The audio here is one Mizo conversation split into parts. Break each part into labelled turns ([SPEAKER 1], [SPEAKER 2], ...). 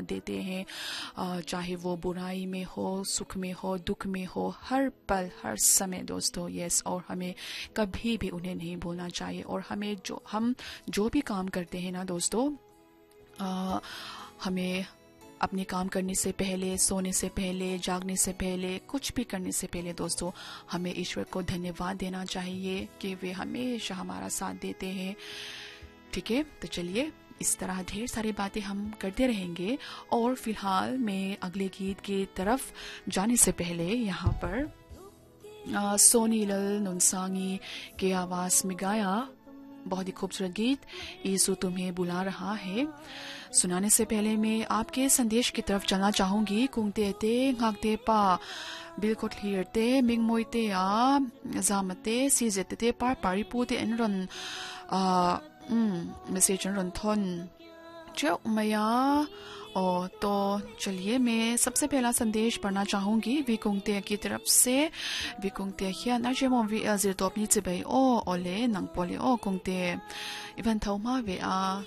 [SPEAKER 1] देते हैं, चाहे वो बुराई में हो, सुख में हो, दुख में हो, हर पल हर समय दोस्तों। यस, और हमें कभी भी उन्हें नहीं भूलना चाहिए। और हमें जो हम जो भी काम करते हैं ना दोस्तों, हमें अपने काम करने से पहले, सोने से पहले, जागने से पहले, कुछ भी करने से पहले दोस्तों हमें ईश्वर को धन्यवाद देना चाहिए कि वे हमेशा हमारा साथ देते हैं। ठीक है, तो चलिए इस तरह ढेर सारी बातें हम करते रहेंगे। और फिलहाल मैं अगले गीत की तरफ जाने से पहले यहाँ पर सोनी लल नुनसांगी के आवाज में गाया बहुत ही खूबसूरत गीत यीशु तुम्हें बुला रहा है सुनाने से पहले मैं आपके संदेश की तरफ चलना चाहूंगी। कुंगते ते ngakte pa bilkot hlir te mingmoi te a zamate si te te par pari pu te en ron message ron thon cheu maya। और तो चलिए मैं सबसे पहला संदेश पढ़ना चाहूंगी विकुंगते की तरफ से। विकुंगते हियान आजे मोम V L zir top ni chibai o ole nang pole o kungte ivan thau ma ve a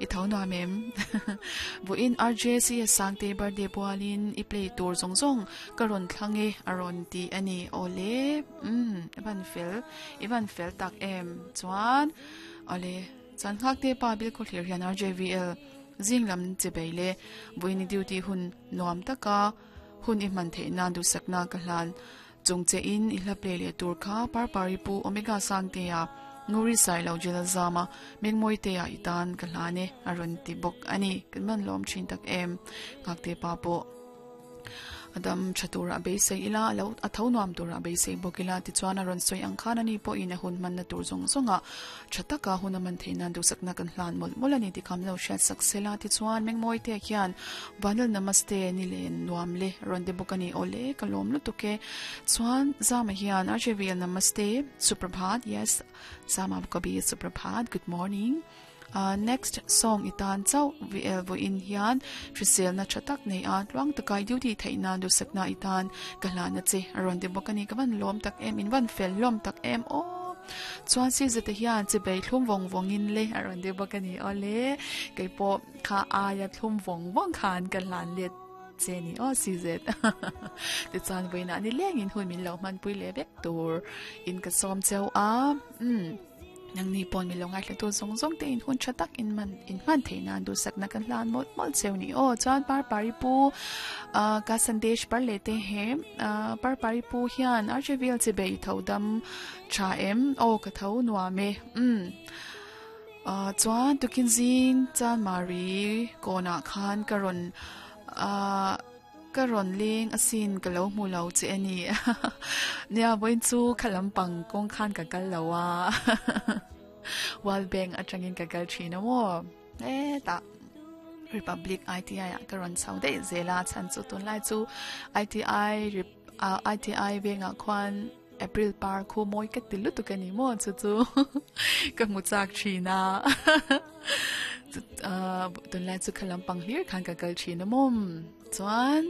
[SPEAKER 1] i thau na mem bu in RJ C sangte birthday pualin i play tur zong zong karon thlange aron ti ani ole ivan fel tak em chuan ole chan ngak te pa bil ko thlir hian RJVL zinglam chibeile buini duty hun nuam taka hun i man theina du sakna ka hlan chungche in i hla play le tur kha par pari pu omega sang te ya nguri sai lo jela zama mengmoi te ya itan ka hlane aron ti bok ani kan man lom thin tak em ngak te pa po adam chatura be sei ila lo atho nuam tura be sei bokila ti chuan aron soi ang khan ani po in a hun man na tur zong zonga chataka huna man theina du sakna kan hlan mol molani ti kham lo shat saksela ti chuan mengmoi te khian vanal namaste ni le nuam le ron de bokani ole kalom lu tuke chuan zama hian RJVL namaste suprabhat. Yes, zama kabi suprabhat, good morning. Next song itan chau VL vo in hian trisel na chatak nei a tluang takai duty theina du sakna itan kala na che aron de bokani kawan lom tak em in van fel lom tak em o chuan si zete hian che bei thlum vong vong in le aron de bokani ole keipo kha aya thlum vong vong khan kalan le che ni o si zet te chan voina ni leng in hun min lo man pui le vek tur in ka som cheu a nang ni pon mi longai hletu zong zong te in hun chatak in man theina du sakna kan hlan mol mol cheu ni o chuan par pari pu ka sandesh par lete हैं par pari pu hian RJVL che bei thodam cha em o ka tho nuame chuan tukin zing chan mari kona khan karon karon leng asin ka lo mu lo che ani nia boin chu khalam pang kong khan ka kal lawa wal bank atangin ka kal thina mo e ta Republic ITI karon chau de zela chan chu tun lai chu ITI venga khwan April par khu moi ka tilu tu ka ni mo chu chu ka mu chak thina tun lai chu khalam pang hlir khan ka kal thina mom chuan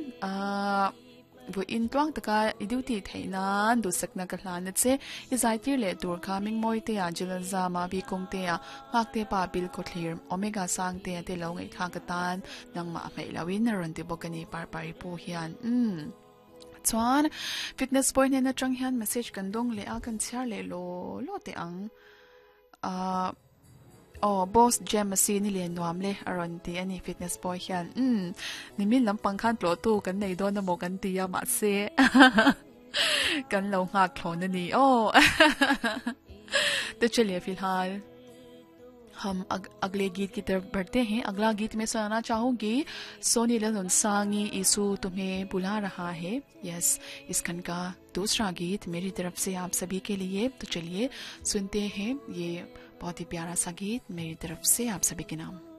[SPEAKER 1] bu in tuang taka i duty theina du sakna ka hlan che i zai tir le tur kha mingmoi te a jilal zama bi kong te a ngak te pa bil ko thlir omega sang te te lo ngai kha ka tan nangma hmei lawin ron ti bokani par pari pu hian chuan fitness point na chang hian message kan dong le a kan chhiar le lo lo te ang oh boss jam si ni le nuam le aron ti ani fitness boy hian nimin lampang khan tlo tu kan nei don amo kan ti a ma se kan lo ngak thlon ani oh तो चलिए फिलहाल हम अगले गीत की तरफ बढ़ते हैं। अगला गीत मैं सुनाना चाहूंगी सोनी लल यीशु तुम्हें बुला रहा है। यस, इस खंड का दूसरा गीत मेरी तरफ से आप सभी के लिए। तो चलिए सुनते हैं ये बहुत ही प्यारा सा गीत मेरी तरफ से आप सभी के नाम।